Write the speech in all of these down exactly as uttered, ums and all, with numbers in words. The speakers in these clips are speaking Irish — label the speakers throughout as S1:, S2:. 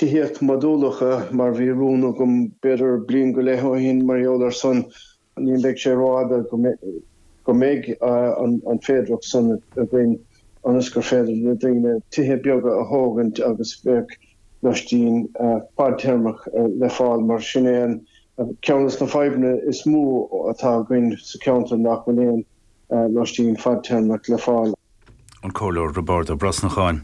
S1: tithíocht modúlacha mar bhí rún agam b'fhéidir bliain go leith ó shin mar gheall ar san ní bheidh sé rófhada go mbeidh an féidearthacht san againn ionas gur féidir le daoine tithe beaga a thógaint agus bheadh loistín fadtéarmach le fáil mar sin é an ceann de na fadhbanna is mó atá againn sa cheantar nach bhfuil aon loistín fadtéarmach le fáil.
S2: an Comhairleoir Roibeárd Ó Brosnacháin.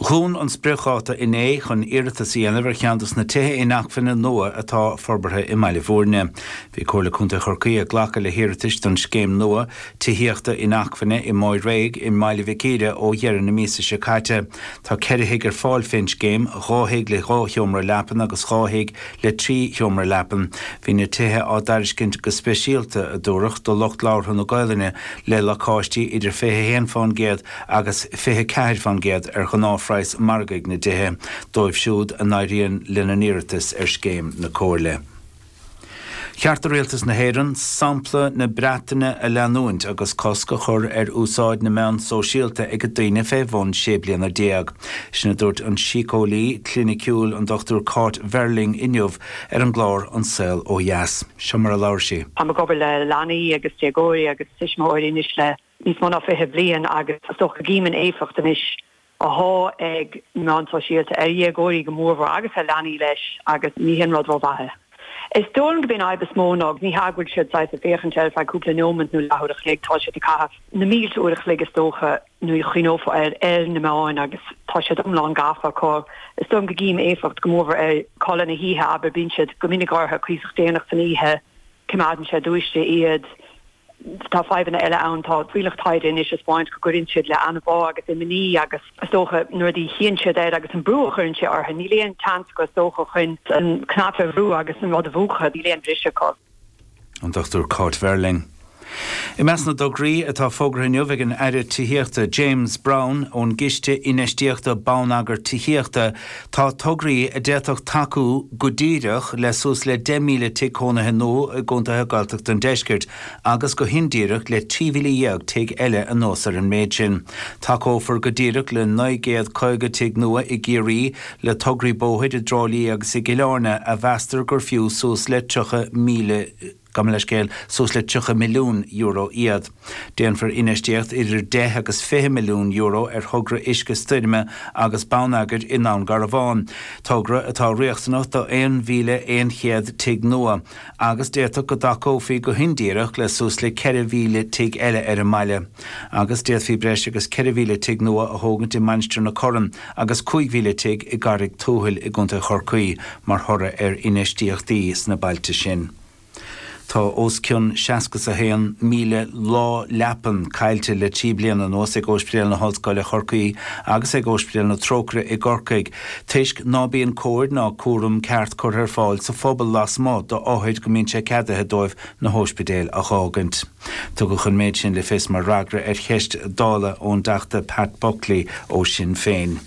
S2: Dhún an spriocdháta inné chun iarratas a dhéanamh ar cheann de na tithe inacmhainne nua atá forbartha i mBaile Bhúirne. Bhí Comhairle Contae Chorcaí ag glacadh le hiarratais don scéim nua tithíochta inacmhainne i Maigh Réidh i mBaile Mhic Íre ó dheireadh na míosa seo caite. Tá ceithre thigh ar fáil fén scéim, dhá thigh le dhá sheomra leapan agus dhá thigh le trí sheomra leapan. Bhí na tithe á dtairiscint go speisialta a dúradh do lucht labhartha na Gaelainne le lacáistí idir fiche haon faoin gcéad agus fiche ceathair faoin gcéad ar ghnáthphraghas margaidh na dtithe dóibh siúd a n-éiríonn lena n-iarratas ar scéim na Comhairle. Cheart do Rialtas na hÉireann sampla na Breataine a leanúint agus cosc a chur ar úsáid na meán sóisialta ag daoine fé bhun sé bliana déag. Sin a dúirt an síceolaí cliniciúil an Dr Cáit Verling inniu ar an gclár An Saol Ó Dheas. Seo mar a labhair sí.
S3: Tá ag obair le leanaí agus déagóirí agus tuismitheoirí anois le níos mó ná fiche bliain agus is dócha go gcím an éifeacht anois atá ag meáin sóisialta ar dhéagóirí go mórmhór agus ar leanaí leis agus ní hin rud rómhaith. Is dóigh go b'in fhadhb is mó ná ní hé go bhfuil siad ag féachaint ar feadh cúpla nóiméad nó leathuair a chloig tá siad ag caitheamh na mílte uair a chloig is dócha nó chuofa ar ar na meáin agus tá siad iomlán gafa acu. Is dóigh go gcím éifeacht go mór ar codladh na hoíche aber bíonn siad go minic orthu cuíosach déanach san oíche coimeádann sé dúiste iad tá fadhbanna eile ann tá fuíollach taighde anois ag spáint go gcuireann siad le anbhá agus imní agus is dócha nuair a chíonn siad air agus an brú a chuireann sé orthu níl aon chance go is dócha chun an cnaipe a bhrú agus an rud a mhúchadh níl aon bhriseadh acu.
S2: An Dr Cáit Verling. I measc na dtograí atá fógartha inniu ag an Aire Tithíochta James Browne ón gCiste Infheistíochta Bonneagair Tithíochta tá tograí a d'fhéadfadh tacú go díreach le suas le deich míle tigh cónaithe nua i gcontaetha Gaeltachta an Deiscirt agus go hindíreach le trí mhíle dhéag tigh eile anuas ar an méid sin. Tacófar go díreach le naoi gcéad caoga tigh nua i gCiarraí le tograí bóthair i dTrá Lí agus i gCill Airne a mheastar gur fiú suas le tríocha míle gabh mo leithscéal suas le tríocha milliún euro iad. Déanfar infheistíocht idir deich agus fiche milliún euro ar thogra uisce stoirme agus bonneagair i nDún Garbhán. Togra atá riachtanach do aon mhíle aon chéad tigh nua, agus d'fhéadfadh go dtacófaí go hindíreach le suas le ceithre mhíle tigh eile ar an mbaile. Agus d'fhéadfaí breis agus ceithre mhíle tigh nua a thógaint i Mainistir na Corann agus cúig mhíle tigh i gCarraig Tuathail i gContae Chorcaí mar thoradh ar infheistíochtaí sna bailte sin. Tá os cionn seasca a haon míle lá leapan caillte le trí bliana anuas ag Ospidéal na hOllscoile Chorcaí agus ag Ospidéal na Trócaire i gCorcaigh. Toisc ná bíonn cóir ná cúram ceart curtha ar fáil sa phobal lasmuigh d'othair go mbíonn sé ceadaithe dóibh na hóispidéil a fhágaint. Tugadh an méid sin le fios mar fhreagra ar cheist Dála ón dTeachta Pat Buckley ó Sinn Féin.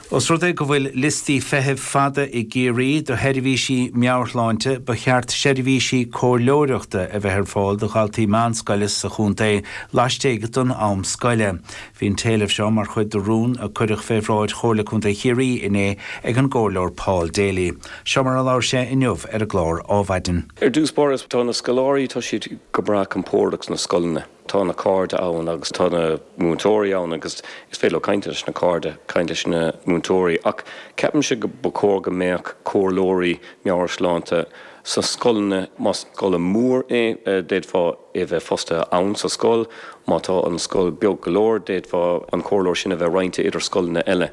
S2: Os rud é go bhfuil liostaí feithimh fada i gCiarraí do sheirbhísí meabhairshláinte, ba cheart seirbhísí comhairleoireachta a bheith ar fáil do dhaltaí meánscoile sa chontae laistigh den am scoile. Bhí an t-éileamh seo mar chuid de rún a cuireadh fé bhráid Chomhairle Contae Chiarraí inné ag an gcomhairleoir Paul Daly. Seo mar a labhair sé inniu ar an gclár Adhmhaidin.
S4: Ar dtús báire tá na scoláirí tá siad go breá compordach sna scoileanna. Tá na cairde ann agus tá na múinteoirí ann agus is féidir leo caint leis na cairde caint leis na múinteoirí ach ceapaimse go ba chóir go mbeadh comhairleoirí meabhairshláinte sa scoileanna más scoil mhór é d'fhéadfá é bheith fostaithe ann sa scoil, má tá an scoil beag go leor d'fhéadfá an comhairleoir sin a bheith roinnte idir scoileanna eile.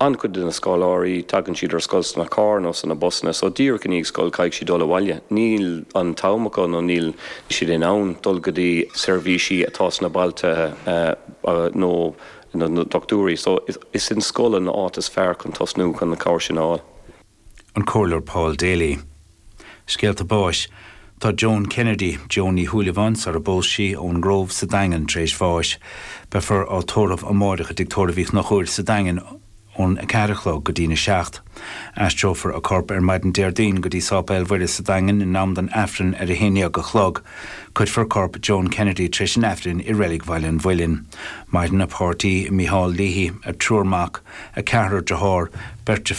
S4: An-chuid de na scoláirí tagann siad ar scoil sna cairr nó sna busanna, so díreach i ndiaidh scoil caithfidh siad dul abhaile. Níl an t-am acu nó níl siad in ann dul go dtí seirbhísí atá sna bailte nó na dochtúirí, so is in scoil an áit is fearr chun tosnú chun na cabhair sin a fháil.
S2: An Comhairleoir Paul Daly. Scéalta báis. Tá Joan Kennedy, Joan Ní Shúilleabháin sar a bpós sí ón nGrove sa Daingean tar éis bháis. Beifear á tórramh amárach i dTigh Tórraimh Uí Chonchúir sa Daingean ón a ceathair a chlog go dtína seacht. Aistreofar a corp ar maidin Déardaoin go dtí Sáipéal Mhuire sa Daingean in am don Aifreann ar a haon déag a chlog. Cuirfear corp Joan Kennedy tar éis an Aifrinn i Reilig Bhaile an Mhuilinn. Maireann a páirtí Micheál Leahy, a triúr mac, a ceathrar dearthár, beirt